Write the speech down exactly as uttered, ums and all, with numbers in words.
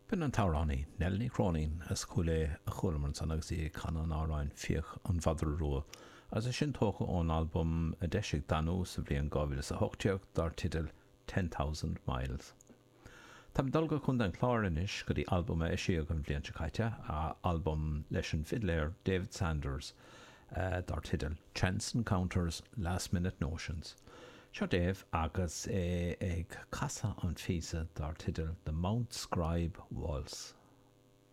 B'in an t-amhránaí Nell Ní Chróinín as Cúil Aodha a chualamar ansan agus í ag canadh an amhráin Fiach an Mhadra Rua, agus é sin tógtha ón albam a d'eisigh Danú sa bhliain dhá mhíle is a hocht déag dar teideal Ten Thousand Miles. Táim ag dul go Contae an Chláir anois go dtí albam a eisíodh an bhliain seo caite, albam leis an bhfidléir David Sanders dar teideal Chance Encounters, Last Minute Notions. Seo Dave agus é ag casadh an phíosa dar teideal The Mount Scribe Waltz.